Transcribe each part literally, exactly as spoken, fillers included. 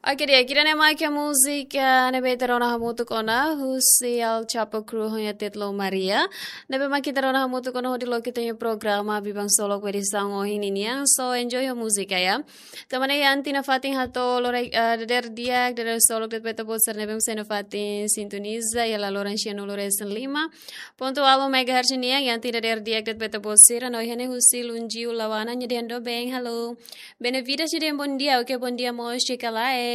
Oke, di'ak, ida-ne'e mak múzika ne'ebé ita rona hamutuk ona, husi El Chapo Crew ho nia títulu Maria. Ne'ebé mak ita rona hamutuk ona hodi loke ita-nia programa Biban Solok edisaun ohin ninian. So, enjoy ho múzika, ya. Tanba ne'e iha ita-nia fatin hato'o lorokraik, eh, dadeer di'ak, dadeer solok de'it ba ita-boot sira ne'ebé mak sei iha fatin sintoniza, iha laloran sianulu resin lima pontu ualu megahertz nian, iha ita-nia dadeer di'ak de'it ba ita-boot sira, no iha ne'e husi Lunjiu Lawana, nia dehan doben, halo. Benevides nia dehan bondia, oke, bondia mós, cekalae.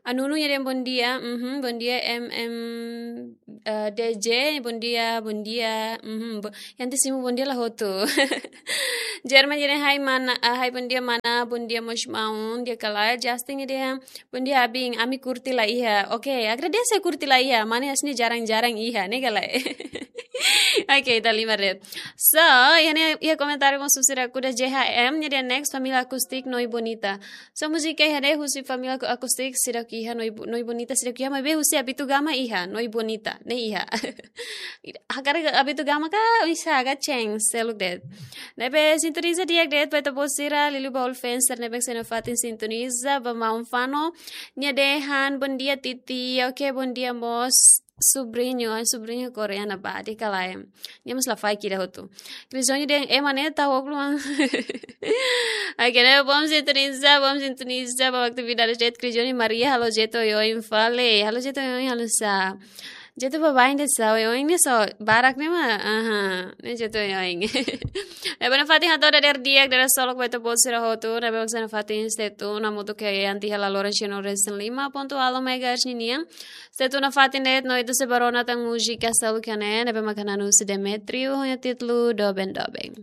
Anunu nia dehan bondia, mhm, bondia M M, eh, D J, bondia, bondia, mhm, bo-, iha ita simu bondia la hotu. German nia dehan hai mana, ah, hai bondia mana, bondia mós maun, di'ak ka lae. Justin nia dehan bondia abin, ami kurti la iha. Oke, agradese kurti la iha, mane hanesan ne'e jarang-jarang iha, ne'e ka lae. Oke, ita lima red. So, iha ne'e, iha komentáriu mós husi ida-ne'e, J H M, nia dehan next família Acústica Noi Bonita. So, múzika iha ne'e husi família Acústica seidauk iha, Noi Bo-, Noi Bonita seidauk iha, maibé husi Abitugama iha, Noi Bonita, ne'e iha. Hakarak Abitugama ka, oinsá ka, ceng, seluk de'it. Ne'ebé sintoniza di'ak de'it ba ita-boot sira, liuliu ba all fans sira ne'ebé mak sei iha fatin sintoniza, ba maun Fano, nia dehan bondia Titi, oke, bondia mós, subriñu, ai, subriñu koreana ba, di'ak ka lae. Nia mós la faik ida hotu. Cris Johnny dehan, eh, mane, tau ókulu. Oke, ne'e, bom sintoniza, bom sintoniza, ba atividade de'it, Cris Johnny Maria, halo Jeto oioin fali, halo Jeto oioin, halo sá. Jeto baibain de'it sá, oioin ne'e só, barak ne'e mak, aha, ne'e Jeto oioin. Ne'ebé iha fatin hato'o dadeer di'ak, dadeer solok ba ita-boot sira hotu, ne'ebé mak sei iha fatin stay tune, hamutuk ho ita iha laloran sianulu resin lima pontu ualu megahertz ninian. Stay tune iha fatin de'it, no ita sei bá rona tan múzika seluk iha ne'e, ne'ebé mak hananu husi Demetrio, ho nia títulu Doben Doben.